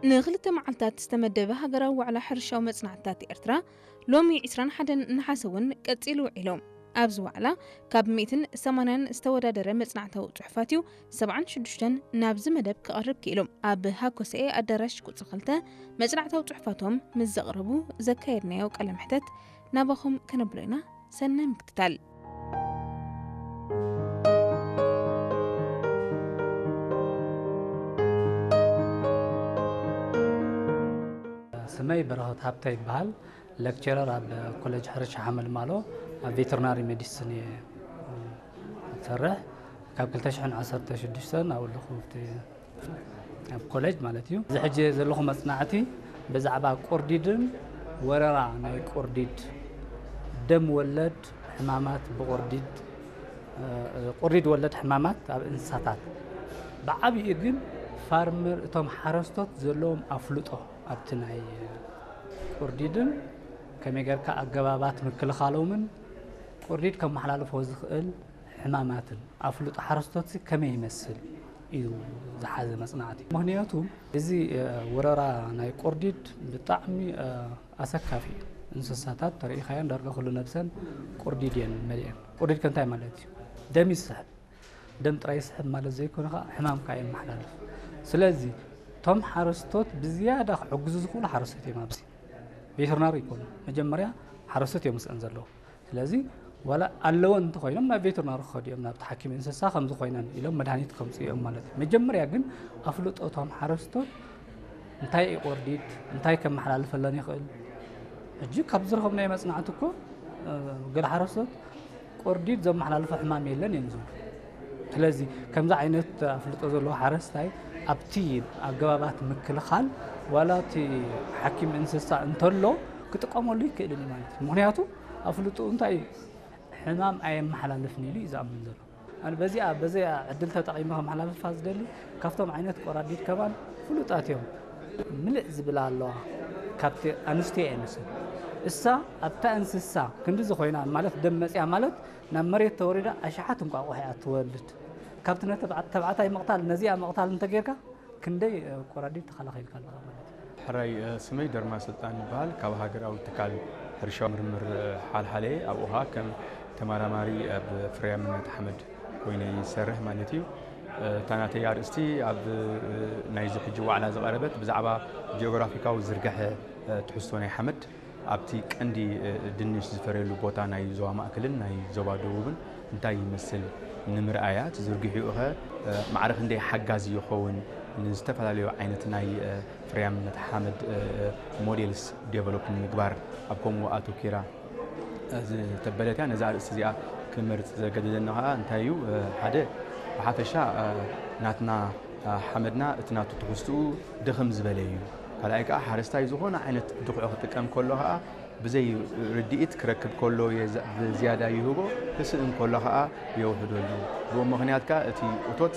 ንክልተ መዓልታት ዝተመደበ ሃገራዊ ዋዕላ ሕርሻዊ መጽናዕትታት ኤርትራ ሎሚ ዕስራን ሓደን ነሓሰ እውን ቀጺሉ ውዒሉ። ኣብዚ ዋዕላ ካብ ሚእትን ሰማንያን ዝተወዳደረ መጽናዕታዊ ጽሑፋት እዩ ሰብዓን ሽዱሽተን ናብዚ መደብ ክቐርብ ክኢሉ። ኣብ ሃኮሰኤ ኣዳራሽ ቁጽሪ ክልተ መጽናዕታዊ ጽሑፋቶም ምስ ዘቕረቡ ዘካየድናዮ ቃለ መሕተት ናባኹም ከነብሎ ኢና። ሰናይ ምክትታል። ስመይ በረኸት ሃብተ ይበሃል። ሌክቸረር ኣብ ኮሌጅ ሕርሻ ሓመልማሎ ኣብ ቬተርናሪ ሜዲሲን እየ ዝሰርሕ። ካብ ክልተ ሽሕን ዓሰርተ ሽዱሽተን ኣብኡ ኣለኹ ኣብቲ ኣብ ኮሌጅ ማለት እዩ። እዚ ሕጂ ዘለኹ መጽናዕቲ ብዛዕባ ቁርዲድን ወረራ ናይ ቁርዲድ፣ ደም ወለድ ሕማማት ብቁርዲድ፣ ቁርዲድ ወለድ ሕማማት ኣብ እንስሳታት፣ ብዓቢኡ ግን ፋርመር፣ እቶም ሓረስቶት ዘለዎም ኣፍልጦ ኣብቲ ናይ ቁርዲድን ከመይ ጌርካ ኣገባባት ምክልኻሎምን ቁርዲድ ከመሓላልፎ ዝኽእል ሕማማትን ኣፍልጦ ሓረስቶት ከመይ ይመስል እዩ ዝሓዘ መጽናዕቲ። ምኽንያቱ እዚ ወረራ ናይ ቁርዲድ ብጣዕሚ ኣሰካፊ እዩ። እንስሳታት ተረኢኻየን ዳርጋ ኩሉ ነብሰን ቁርዲድ እየን መሊአን። ቁርዲድ ከ እንታይ ማለት እዩ? ደም ይስሕብ። ደም ጥራይ ይስሕብ ማለት ዘይኮነ ከዓ ሕማም ከዓ የመሓላልፍ። ስለዚ እቶም ሓረስቶት ብዝያዳ ክሕግዙ ዝኽእሉ ሓረስቶት እዮም። ኣብዚ ቬተርናሪ ይኮኑ፣ መጀመርያ ሓረስቶት እዮም ምስአን ዘለዉ። ስለዚ ዋላ ኣለወን እንተኾይኖም ናብ ቬተርናሪ ክኸዱ እዮም፣ ናብቲ ሓኪም እንስሳ ከምዚ ኮይነን ኢሎም መድሃኒት ከምፅኡ እዮም ማለት እዩ። መጀመርያ ግን ኣፍልጦ እቶም ሓረስቶት እንታይ እዩ ቁርዲድ፣ እንታይ ከመሓላልፈለን ይኽእል። ሕጂ ካብ ዝረኸብናዮ መጽናዕቲ እኮ ገለ ሓረስቶት ቁርዲድ ዘመሓላልፎ ሕማም የለን እዮም ዝብሉ። ስለዚ ከምዚ ዓይነት ኣፍልጦ ዘለዎ ሓረስታይ ኣብቲ ኣገባባት ምክልኻል ዋላ እቲ ሓኪም እንስሳ እንተሎ ክጥቀመሉ ይክእልን እዩ ማለት እዩ። ምኽንያቱ ኣፍልጦ እንታይ እዩ? ሕማም ኣየመሓላልፍን ኢሉ እዩ ዝኣምን ዘሎ። ኣነ በዚኣ በዚኣ ዕድል ተጠቒመ ከመሓላልፋ ዝደሊ ካብቶም ዓይነት ቆራዲድ ከማን ፍሉጣት እዮም። ምልእ ዝብላ ኣለዋ ካብቲ ኣንስትዮ እየን ንሰን እሳ ኣብታ እንስሳ ክንድዚ ኮይና ማለት ደም መፅያ ማለት ናብ መሬት ተወሪዳ ኣሽሓት እንቋቑሖ እያ ትወልድ። ካብቲ ነተብዓ- ተብዓታይ ምቕታል ነዚኣ ምቕታል እንተጌርካ ክንደይ ቆራዲድ ተኸላኺልካ ኣለኻ ማለት እዩ። ሕራይ ስመይ ደርማ ስልጣን ይበሃል። ካብ ሃገራዊ ትካል ሕርሻዊ ምርምር ሓልሓለ ኣብ ኡሃ ከም ተመራማሪ ኣብ ፍርያምነት ሓመድ ኮይነ ይሰርሕ ማለት እዩ። እታ ናተይ ኣርእስቲ ኣብ ናይዚ ሕጂ ዋዕላ ዝቐረበት ብዛዕባ ጂኦግራፊካዊ ዝርግሐ ትሕዝቶ ናይ ሓመድ ኣብቲ ቀንዲ ድንሽ ዝፈርየሉ ቦታ ናይ ዞባ ማእከልን ናይ ዞባ ደቡብን እንታይ ይመስል ንምርኣያ፣ እቲ ዝርግሒኡ ኸ ማዕረ ክንደይ ሓጋዚ ይኸውን ንዝተፈላለዩ ዓይነት ናይ ፍርያምነት ሓመድ ሞዴልስ ዴቨሎፕ ንምግባር ኣብ ከምኡ ኣተኪራ ዝተበለት እያ። ነዛ ኣርእስቲ እዚኣ ክመርፅ ዘገደደኒ ኸዓ እንታይ እዩ? ሓደ ብሓፈሻ ናትና ሓመድና እቲ ናቱ ትሕዝትኡ ድኽም ዝበለ እዩ። ካልኣይ ከዓ ሓረስታይ ዝኾነ ዓይነት ድኹዒ ክጥቀም ከሎ ከዓ ብዘይ ርድኢት ክረክብ ከሎ ብዝያዳ ይህቦ፣ ክስእን ከሎ ከዓ የውሕደሉ። ብኡ ምኽንያት ከዓ እቲ እቶት